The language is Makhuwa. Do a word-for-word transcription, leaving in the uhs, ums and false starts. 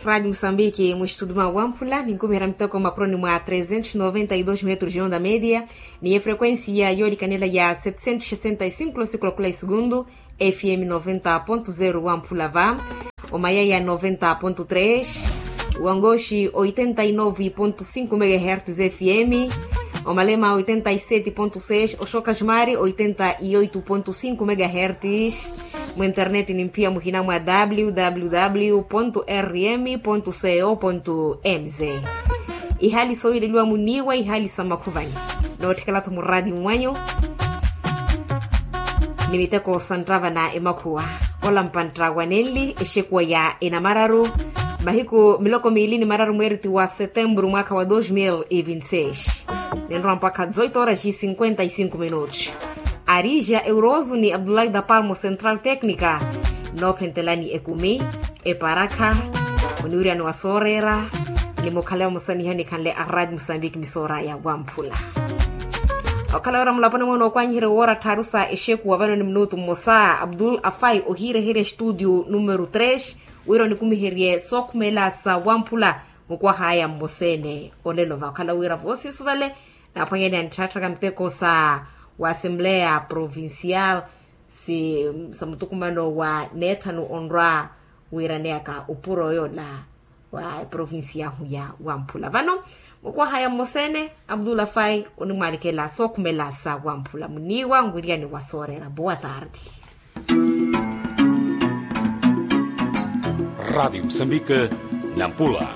Radi musambiki muxitudi mwa wamphula ninkumiherya miteko mapuroni mwa trezentos noventa y dos metros de onda media, ni efrequencia yoolikanela ya setcentos sessenta y cinco losiku lakula isugundu. Fm noventa ponto zero wamphula va, omayaya noventa ponto tres, wangoxi oitenta y nove ponto cinco megahertz fm, omalema oitenta y sete ponto seis, oxoka ximari oitenta y oito ponto cinco megahertz. Mu internet nimphiya muhina mwa www rm co mz. Ihali soohileliwa muniiwa ihali sa makhuvani, nootthikela-tho muraati mwanyu. Ni miteko sa nttava na emakhuwa, olampa nttrawa nenli exekuwa ya enamararu, mahiku miloko miili ni mararu mweeriti wa setemburu mwaakha wa dos mil e vinti seis. Ninrowa mpakha zoito horas e cinquenta y cinco minutos. Arija euroso ni abdullahi da palmo central técnica, noophentelani ekumi, eparakha, oniwiriyani wa sooreera, ni mukhale vamosa niha nikhanle a radi musambiki misoora ya wamphula. Okhala wira mulaponi mwe nookwanyiherya woora tthaaru sa exekuwa vano ni minutu mmosa abdul afai ohiireherya estudio numero tres, wira onikumiherye sookhumela sa wamphula. Mukwahaya mmosa-ene olelo vakhala wira voosisuvale, naaphwanyani anitthaattaka miteko sa wa assembleya provincial, si sa mutukumano wa neethanu onrwa wiiraneyaka opuro yoola wa eprovincia yahu ya wamphula vano. Mukwahaya mmosa-ene abdul afai onimwalikela sookhumela sa wamphula muniiwa nwiriyani wa sooreera boa tardi. Radi musambika, nampula.